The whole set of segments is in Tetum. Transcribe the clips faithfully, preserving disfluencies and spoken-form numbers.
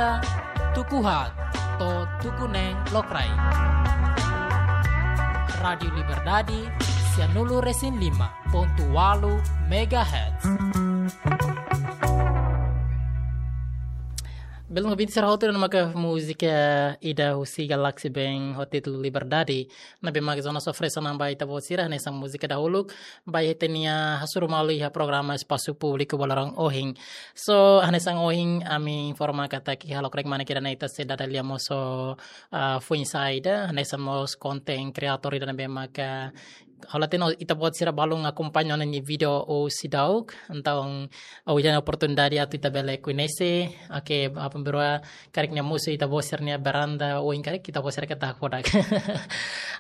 Tuku haat to'o tuku neen lokraik. Rádiu Liberdade, sianulu resin lima pontu walu megahertz. Belun ouvinte sira hotu, ne'e maka múzika ida husi Galaxy Band ho títulu Liberdade. Ne'ebé mak Jonas oferese ona ba ita-boot sira hanesan múzika dahuluk ba ita-nia hasoru malu iha programa Espasu Públiku ba loron ohin. So, hanesan ohin ami informa katak iha lokraik mane kira ne'e ita sei dada lia mós ho, ah, foin-sa'e ida, hanesan mós konten kreatór ida ne'ebé maka halo tino ita-boot sira balun akompaña ona nia vídeo husi daudauk. Entaun, ha'u iha oportunidade atu ita bele koñese. Oke, apa berua karik nia mosu ita-boot sira-nia varanda, ohin karik ita-boot sira keta kodak.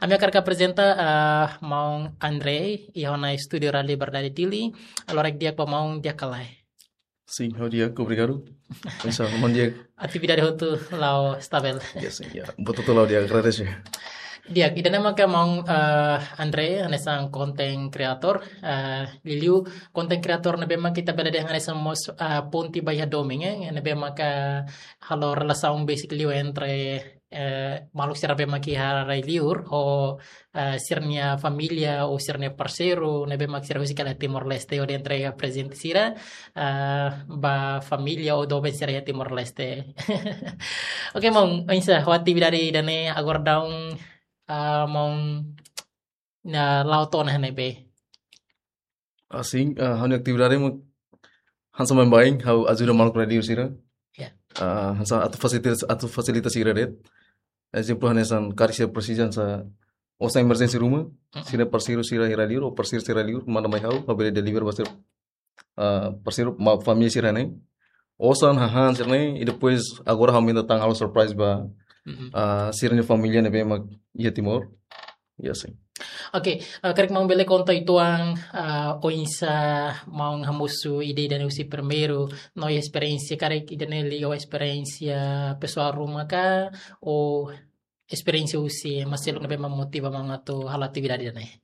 Ami hakarak aprezenta, ah, maun André, iha ona estúdiu Rádiu Liberdade Dili. Halo lokraik di'ak ba maun, di'ak ka lae? Sin, ha'u di'ak, obrigadu. Oinsá, maun di'ak? Atividade hotu la'o stabil? Ya, sin, ya. Buat hotu la'o di'ak, agradese. Di'ak, ida-ne'e maka maun, eh, André, hanesan konten kreatór, eh, liuliu konten kreatór ne'ebé maka ita bele dehan hanesan mós, eh, ponte ba iha domin, eh, ne'ebé maka halo relasaun besik liu entre, eh, maluk sira ne'ebé mak iha rai-liur ho, eh, sira-nia família ou sira-nia parseiru ne'ebé mak sira husik hela iha Timor-Leste, ou entre iha prezente sira, eh, ba família ou doben sira iha Timor-Leste. Oke, maun, oinsá ho atividade ida-ne'e agora daudaun, eh, maun, ne'e la'o to'o ona iha ne'ebé? Asin, ah, ha'u-nia atividade mak hanesan baibain, ha'u ajuda maluk rai-liur sira. Ya. Ah, hanesan atu fasilita, atu fasilita sira de'it. Ezemplu, hanesan karik sira presiza hanesan osan emerjénsia ruma, Mm-mm. sira parseiru sira iha rai-liur, ou parseiru sira iha rai-liur, manda mai ha'u, ha'u bele deliver ba sira, ah, parseiru, ma-, família sira-ne'e. Osan, hahán sira-ne'e, i depois agora ha'u aumenta tan halo surprise ba, Mm-mm. ah, sira-nia família ne'ebé mak iha Timor. Ya, sin. Oke, eh, karik maun bele konta uitoan, eh, oinsá maun hamosu ida-ne'e husi primeiru, no iha esperiénsia karik ida-ne'e liga ho esperiénsia pesoál ruma ka, ou esperiénsia husi ema seluk ne'ebé mak motiva maun atu halo atividade ida-ne'e?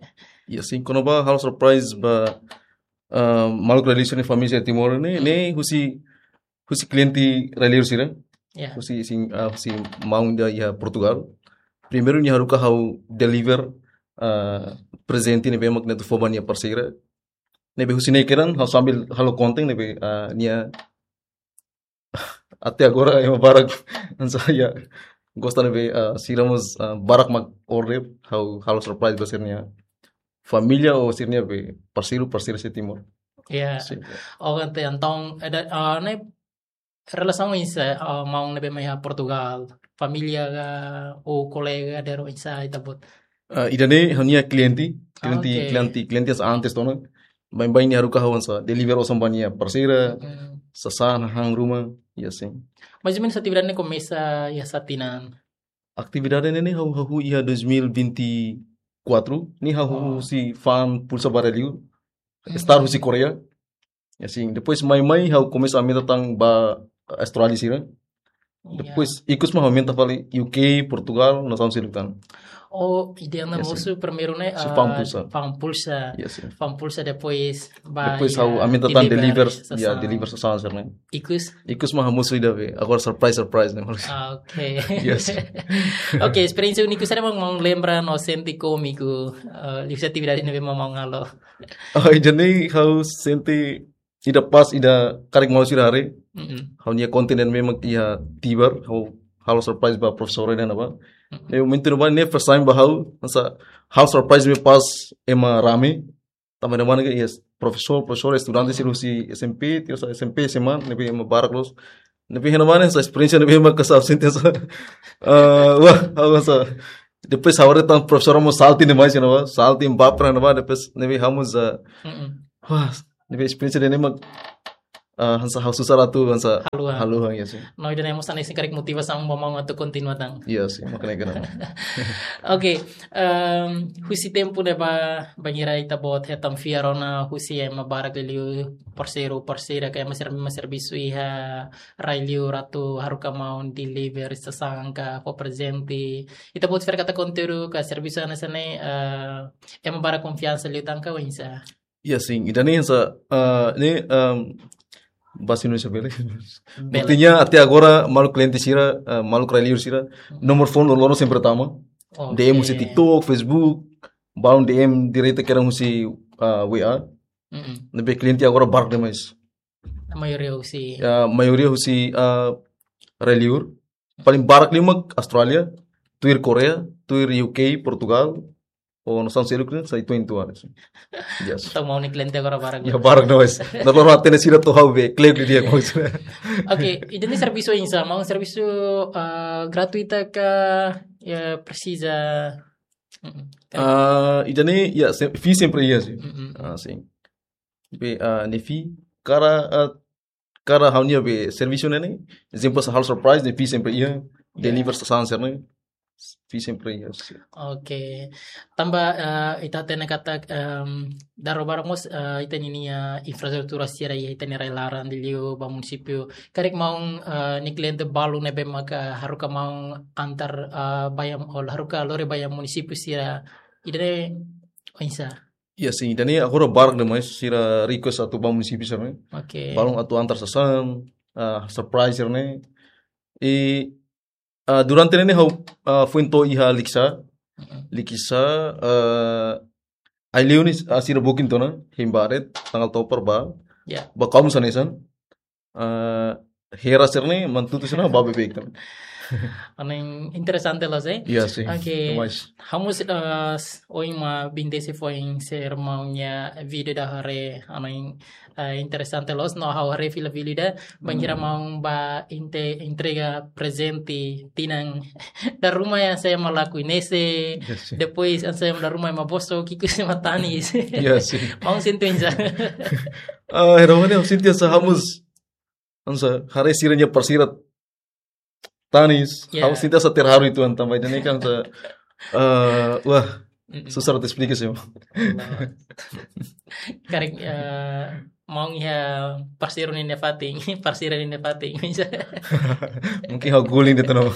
Ya, sin, kona-ba halo surprise ba, eh, maluk rai-liur sira-nia família sira iha Timor ne'e, Mm. ne'e husi husi kliente rai-liur sira. Ya. Husi sin, ah, husi maun ida iha Portugal. Primeiru nia haruka ha'u deliver, ah, prezente ne'ebé mak nia atu fó ba nia parseira. Ne'ebé husi ne'e kedan ha'u sambil halo konten ne'ebé, ah, nia até agora ema barak hanesan ya gosta ne'ebé, ah, sira mós, ah, barak mak order ha'u halo surprise ba sira-nia família ou sira-nia be parseiru, parseira iha Timor. Ya. Sin. Oh, entaun, entaun, eh, da-, ah, ne'e relasaun oinsá, ah, maun ne'ebé mai iha Portugal, família ka, ou kolega, dadeer oinsá ita-boot? Ah, ida-ne'e ha'u-nia kliente, kliente, Ah, oke. kliente, kliente hanesan antes tiha ona. Baibain nia haruka ha'u hanesan deliver osan ba nia parseira, Mm. sasán, hahán ruma, ya, sin. Mais ou menus atividade ne'e komesa iha sá tinan? Atividade ne'e ne'e ha'u, ha'u iha dois mil e vinte e quatro, ne'e ha'u Oh. husi fa'an pulsa ba rai-liur, Mm. star husi Koreia. Ya, sin, depois mai-mai ha'u komesa aumenta tan ba Austrália sira. Ya. Depois, ikus mak aumenta fali U K, Portugal, nasaun seluk tan. Oh, ida-ne'e Ya, sin. mosu primeiru ne'e, Si ah, fa'an pulsa. fa'an pulsa. Ya, sin. Fa'an pulsa, depois ba, Depois ya, ha'u aumenta tan deliver, deliver, ya, sasán. deliver sasán sira-ne'e. Ikus? Ikus mak hamosu ida be. Agora surprise, surprise ne'e. Ah, oke. Ya, sin. Oke, esperiénsia úniku saida mak maun lembra no sente kómiku, eh, liuhusi atividade ne'ebé mak maun halo? Oh, ida-ne'e ha'u sente ida pas ida karik malu sira haree. Mm-mm. Ha'u-nia konten ne'e mak iha Tibar, ha'u halo surprise ba profesór ne'ebá. Mm-mm. Ne'e momentu ne'ebá ne'e first time ba ha'u, hanesan halo surprise ne'e pas ema rame. Tanba ne'ebá ne'e iha profesór, profesór, estudante sira husi S M P, tiha S M P, S M A, ne'ebé ema barak loos. Ne'ebé iha ne'ebá ne'e hanesan esperiénsia ne'ebé ema kasar sente hanesan, ah, wah, ha'u hanesan. Depois ha'u haree tan profesór mós salty demais iha ne'ebá, salty, baper iha ne'ebá, depois ne'ebé ha'u mós, ah, Mm-mm. wah, ne'ebé esperiénsia ida-ne'e mak, ah, hanesan ha'u susar atu hanesan Haluha. haluha, ya, sin. No, ida-ne'e mós hanesan karik motivasaun ba maun atu kontinua tan. Ya, sin, mak ne'e kedan. Oke, em, husi tempu ne'ebá bainhira ita-boot hetan fiar ona husi ema barak liuliu parseiru, parseira ka ema sira mak servisu iha rai-liur atu haruka maun deliver sasán ka fó prezente. Ita-boot fiar katak konteúdu ka servisu hanesan ne'e, eh, ema barak konfiansa liután ka oinsá? Ya, sin, ida-ne'e hanesan, eh, ne'e, em, Bahasa Indonesia bele. Bele. Buktinya até agora maluk kliente sira, eh, maluk rai-liur sira, nomor phone loroloron sempre tama. Oke. D M husi TikTok, Facebook, balun D M direta kedan husi, eh, W A. Mm-mm. Ne'ebé kliente agora barak demais. Maioria husi. Ya, maioria husi, eh, rai-liur. Paling barak liu mak Austrália, tuir Korea, tuir U K, Portugal, ou no San Selu, sai tuin tuan. Yes. Entaun maun-alin kliente agora barak. Ya, barak no es. No loro atene sira to'o ha'u be, klek di dia kau sira. Oke, ida-ne'e servisu oinsá, maun, servisu, eh, gratuita ka, ya, presiza? Mm-mm. Ah, ida-ne'e, ya, se-, fee sempre iha, sin. Mm-mm. Ah, sin. Be, ah, ne'e fee, karik, ah, karik ha'u-nia be servisu ne'e, ne'e, ezemplu, halo surprise, ne'e fee sempre iha, deliver sasán sira-ne'e, fee sempre iha, sin. Oke. Tanba, eh, ita hatene katak, em, dala ruma barak mós, eh, ita-nia infraestrutura sira iha ita-nia rai-laran, liuliu ba munisípiu. Karik maun, eh, nia kliente balu ne'ebé maka haruka maun antar, eh, ba iha, ou haruka lori ba iha munisípiu sira, ida-ne'e oinsá? Ya, sin, ida-ne'e agora barak demais sira request atu ba munisípiu sira-ne'e. Oke. Balun atu antar sasán, ah, surprise sira-ne'e. I, ah, durante ne'e ha'u, ah, foin to'o iha Likisá. Mm-mm. Likisá, ah, ai-liu ne'e, ah, sira booking tiha ona, hein ba de'it, tanggal to'o para ba. Ya. Ba kaum sanesan. Ah, hera sira-ne'e, mantutu sira-ne'e, ba beibeik tan. Anu interesante loos, eh? Iya, sin. Oke. Demais. Ha'u mós, eh, s-, ohin mak bintesi foin sira maun-nia vídeo ida haree, anu, eh, interesante loos, no ha'u haree fila-fila ida, bainhira maun ba inte-, entrega prezente tinan dala ruma hanesan ema la koñese, iya, sin, depois hanesan ema dala ruma ema bosok, ki'ik husi ema tanis. Iya, sin. Maun sente oinsá? Ah, hera mane, ha'u sente hanesan ha'u mós, hanesan haree sira-nia parsira tanis, iya, ha'u sente hanesan terharu uitoan tanba ida-ne'e kan hanesan, eh, wah, mm-mm, susar atu esplika sih. Karik, eh, maun iha parseiru nia fatin, parseiru nia fatin, bisa. Mungkin ha'u guling de'it no.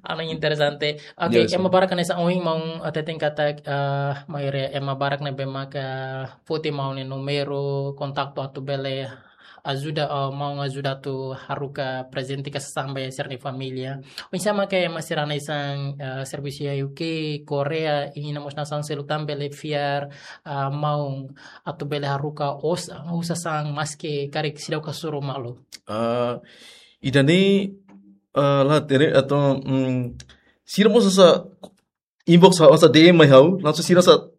Anu interesante. Oke, iya, sin, ema barak hanesan ohin maun hateten katak, eh, maioria ema barak ne'ebé maka foti maun nia númeru kontaktu atu bele ajuda, eh, maun ajuda atu haruka prezente ka sasán ba sira-nia família. Oinsá mak ema sira hanesan, eh, servisu iha U K, Korea, i iha mós nasaun seluk tan bele fiar, eh, maun atu bele haruka osan, osan sasán maski karik seidauk hasoru malu? Ah, ida-ne'e, ah, la tere atau, mm, sira mós hanesan inbox ha'u, hanesan D M mai ha'u, langsung sira hanesan,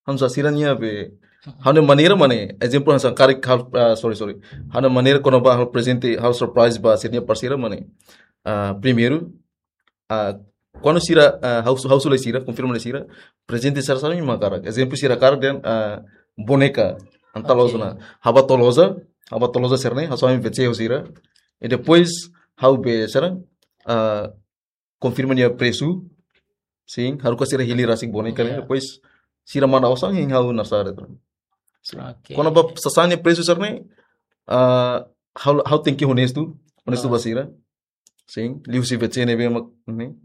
hanesan sira-nia be, ha'u-nia maneira mak ne'e, ezemplu hanesan karik ha'u, ah, sorry, sorry. Ha'u-nia maneira kona-ba halo prezente, halo surprise ba sira-nia parsira mak ne'e. Ah, primeiru, ah, kuandu sira, ah, ha'u, ha'u husu lai sira, konfirma lai sira, prezente sira saida mak hakarak. Ezemplu sira hakarak dehan, ah, boneka, entaun, oke, loos ona. Ha'u bá to'o loja, ha'u bá to'o loja sira-ne'e, ha'u soe W C ho sira. I depois, ha'u be sira, ah, konfirma nia presu, sin, haruka sira hili rasik boneka ne'e, iya, depois sira manda osan hein ha'u nasaun de'it. Sin. Oke. Kona-ba sasán nia presu sira-ne'e, ah, ha'u, ha'u tenke honestu, honestu, ah, ba sira. Sin, liuhusi W C ne'ebé mak ne'e.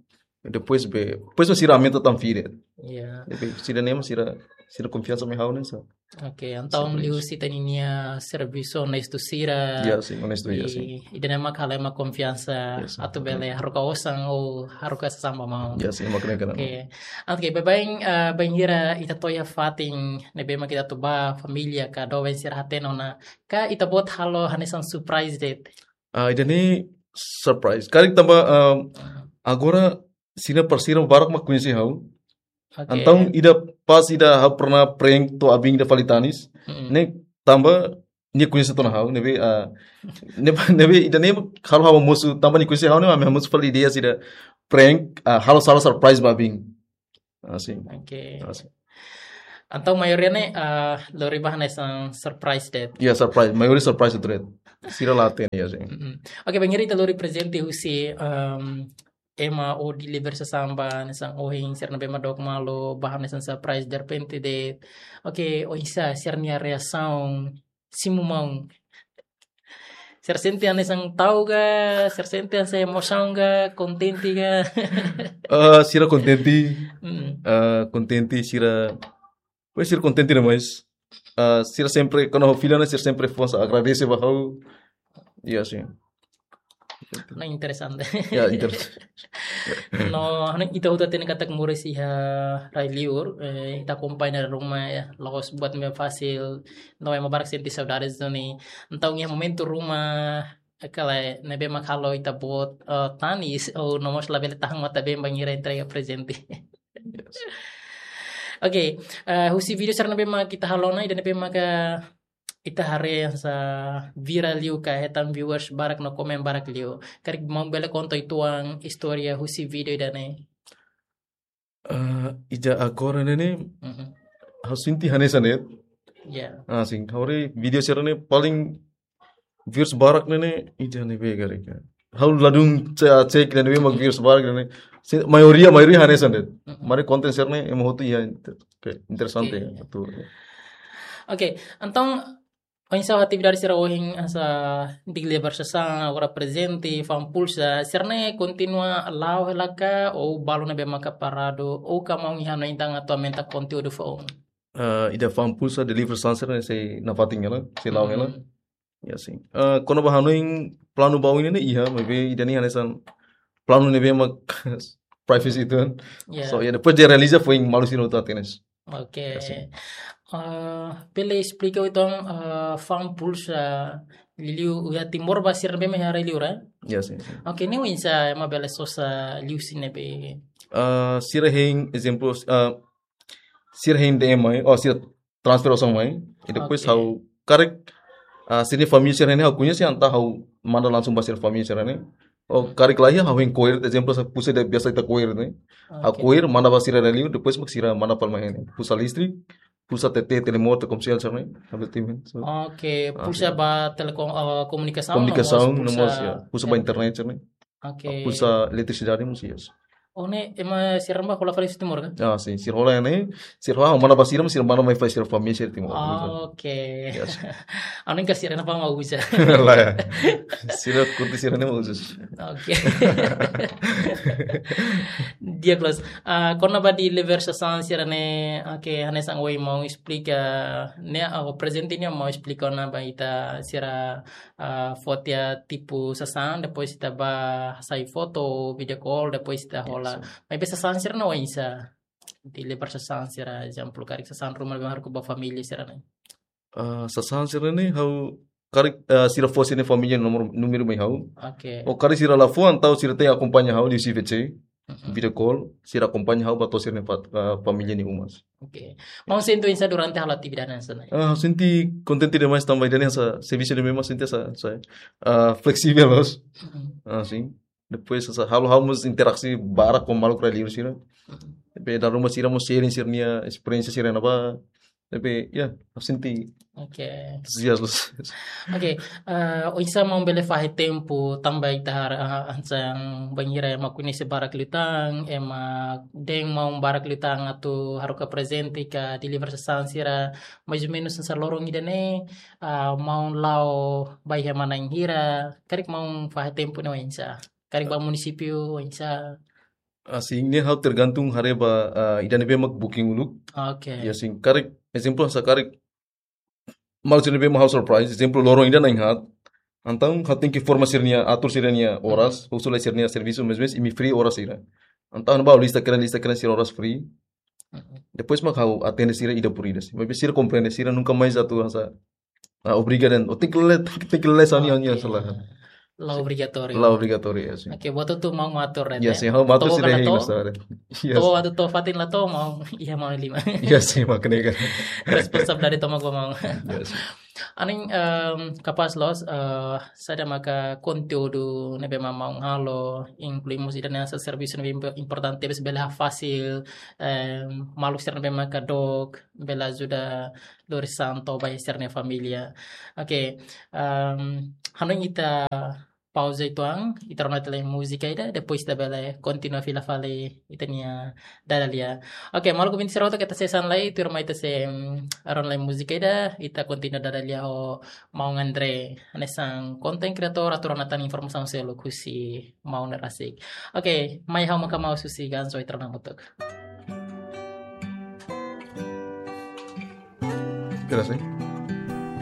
Depois be, depois sira aumenta tan fee de'it. Iya. Depois sira ne'e mak sira, sira konfiansa mai ha'u hanesan. Oke, entaun, sin, liuhusi ita-nia servisu onestu sira. Iya, sin, onestu, iya, sin. I, ida-ne'e mak halo ema konfiansa, iya, sin, atu bele haruka osan ou haruka sasán ba maun. Iya, sin, mak ne'e kan. Oke. Oke, baibain, eh, bainhira ita to'o iha fatin ne'ebé mak ita atu bá, família ka doben sira hatene ona, ka ita-boot halo hanesan surprise de'it? Ah, ida-ne'e surprise. Karik tanba, ah, agora sira-nia parsira barak mak koñese ha'u. Oke. Entaun ida pas ida ha'u pernah prank to'o abin ida fali tanis. Mm-mm. Ne'e tanba nia koñese tiha ona ha'u, ne'ebé, ah, ne'ebé, ne'ebé ida-ne'e halo ha'u mosu, tanba nia koñese ha'u ne'e, ami mosu fali ideia sira prank, ah, halo sala surprise ba abin. Ah, sin. Oke. Ah, sin. Entaun maioria ne'e, ah, lori ba hanesan surprise de'it. Iya, surprise. Maioria surprise de'it. Sira la hatene, iya, sin. Mm-mm. Oke, bainhira ita lori prezente husi, em, ema ou deliver sasán ba hanesan ohin, sira ne'ebé mak dook malu, ba hanesan surprise derrepente de'it. Oke, oinsá sira-nia reasaun, simu maun? Sira sente hanesan ta'uk ka, sira sente hanesan emosaun ka, kontente ka? Ah, sira kontente. Mm. Ah, kontente, sira, pois sira kontente demais. ah, sira sempre, kuandu ha'u fila ne'e, sira sempre fó hanesan agradese ba ha'u. Ya, sin. Nah, interesante. Ya, interesante. No, hanu ita hotu hatene katak moris iha rai-liur, eh, ita akompaña ruma, ya, la'ós buat ne'ebé fasil, no ema barak sente saudades duni. Entaun iha momentu ruma, eh, kala ne'ebé mak halo ita-boot, eh, tanis, ou no mós labele tahan matan-been bainhira entrega prezente. Yes. Oke, eh, husi vídeo sira ne'ebé mak ita halo ona, ida ne'ebé maka ita haree hanesan viral liu ka hetan viewers barak no komen barak liu. Karik maun bele konta uitoan istória husi vídeo ida-ne'e? Ah, ida agora ne'e ne'e, Mhm. ha'u sente hanesan ne'e. Ya. Ah, sin, ha'u haree vídeo sira-ne'e paling views barak ne'e ne'e, ida ne'ebé karik. Ha'u ladún ce-, cek ida ne'ebé mak views barak ne'e ne'e. Sin, maioria, maioria hanesan ne'e. Mhm. Maibé konten sira-ne'e ema hotu iha inter-, ke interesante Oke. Ya, betul. Oke, entaun, oinsá atividade sira ohin hanesan deliver sasán, agora prezente, fa'an pulsa, sira-ne'e kontinua la'o hela ka, ou balu ne'ebé maka paradu, ou ka maun iha hanoin atu aumenta konteúdu foun? Ah, ida fa'an pulsa, deliver sasán sira-ne'e sei nafatin hela, sei la'o hela. Mhm. Ya, sin. Ah, kona-ba hanoin planu ba oin ne'e iha, maibé ida-ne'e hanesan planu ne'ebé mak privacy uitoan. Ya. So, ya, depois de realiza foin malu sira hotu hatene. Oke. Ya, sin. Eh, bele esplika uitoan, eh, fa'an pulsa liuliu iha Timor ba sira ne'ebé mak iha rai-liur, eh? Ya, sin, sin. Oke, ne'e oinsá ema bele sosa liuhusi ne'ebé? Ah, sira hein, ezemplu, ah, sira hein D M mai, ou sira transfer osan mai. I depois Oke. ha'u karik, ah, sira-nia família sira-ne'e ha'u koñese, entaun ha'u manda langsung ba sira-nia família sira-ne'e. Ou karik la iha, ha'u hein ko'alia, ezemplu, hanesan pulsa ida biasa ita ko'alia ne'e. Ha'u Oke. ko'alia, manda ba sira rai-liur, depois mak sira manda palma hein. Pulsa listrik, pulsa T T, Telemor, Telkomsel sira-ne'e. Ha'u bele timi. So, Oke, ah, pulsa sin. Ba Telekom, eh, Komunikasaun, Komunikasaun, no mós no pulsa, mós, ya. Pulsa ba internet sira-ne'e. Oke. Pulsa eletrisidade mós, yes. Oh, ne'e ema sira-ne'e hola fali husi Timor ka? Ah, sin, sira hola ne'e, sira hola, manda ba sira, sira manda mai fali sira família sira Timor. Ah, oke. Yes. Anu ka sira-ne'e fa'an mau uza. Lae. Sira kurti sira-ne'e mau uza. Oke. Di'ak loos. Ah, kona-ba deliver sasán sira-ne'e, oke, hanesan ohin maun esplika, ne'e, ah, prezente ne'e maun esplika ona ba ita sira, ah, fó tiha tipu sasán, depois ita bá hasai foto, video call, depois ita hola. Yes. Maibé sasán sira-ne'e oinsá? Deliver sasán sira, ezemplu, karik sasán ruma ne'ebé haruka ba família sira-ne'e. Ah, sasán sira-ne'e ha'u karik, ah, sira fó sira-nia família nomor, númeru mai ha'u. Oke. Ou karik sira la fó, entaun sira tenke akompaña ha'u liuhusi V C, mhm, video call, sira akompaña ha'u ba to'o sira-nia fat-, ah, família nia uma. Oke. Maun sente oinsá durante halo atividade hanesan ne'e? Ah, sente kontente demais tanba ida-ne'e hanesan servisu ida ne'ebé mak sente hanesan, hanesan, ah, fleksível loos. Mhm. Ah, sin. Depois hanesan halo ha'u mós interaksi barak ho maluk rai-liur sira. Mhm. Depois dala ruma sira mós sharing sira-nia esperiénsia sira-ne'ebá. Tapi, ya, ha'u sente, oke, antuzias loos. Oke, eh, oinsá maun bele fahe tempu tanba ita haree, ah, hanesan bainhira ema koñese barak liután, ema dehan maun barak liután atu haruka prezente ka deliver sasán sira, mais ou menus hanesan loron ida-ne'e, ah, maun la'o ba iha ema na'in hira, karik maun fahe tempu ne'e oinsá? Karik ba munisípiu oinsá? Asin, ne'e ha'u tergantung haree ba, ah, ida ne'ebé mak booking uluk. Oke. Ya, sin, karik, ezemplu, hanesan karik maluk sira ne'ebé mak halo surprise, ezemplu, loron ida na'in haat. Entaun ha'u tenke informa sira-nia, atur sira-nia oras, mhm, husu lai sira-nia servisu, mais ou menus imi free oras hira. Entaun ha'u lista karik, lista karik sira oras free. Mhm. Depois mak ha'u atende sira ida por ida. Maibé sira komprende, sira nunka mais atu hanesan, ah, obriga de'it. Ou tenke lele, tenke lele hanesan ne'e, oke, hanesan ne'e. La obrigatóriu. La obrigatóriu, ya, sin. Oke, buat hotu maun mak atur de'it, ya, sin, ha'u mak atur, to'o sira ka la hein to'o? Hanesan ne'e. Yes. To'o atu to'o fatin la to'o maun, iha maun liman. Ya, sin, mak ne'e karik. Responsabilidade tomak ba maun. Ya, sin. Anin, em, kapás loos, eh, saida maka konteúdu ne'ebé mak maun halo, inklui mós ida-ne'e hanesan servisu ne'ebé impo-, importante, bes bele fasil, em, maluk sira ne'ebé maka dook, bele ajuda lori sasán to'o ba sira-nia família. Oke, em, hanoin ita pauza uitoan, ita rona tiha lai múzika ida, depois ita bele kontinua fila fali ita-nia dada lia. Oke, maluk ouvinte sira hotu, keta hanesan ne'e, tuirmai ita sei, mm, rona lai múzika ida, ita kontinua dada lia ho maun André, hanesan content creator, atu rona tan informasaun seluk husi maun ne'e rasik. Oke, mai ha'u maka maun husi Ganzo, ita rona hamutuk. Pera, sim.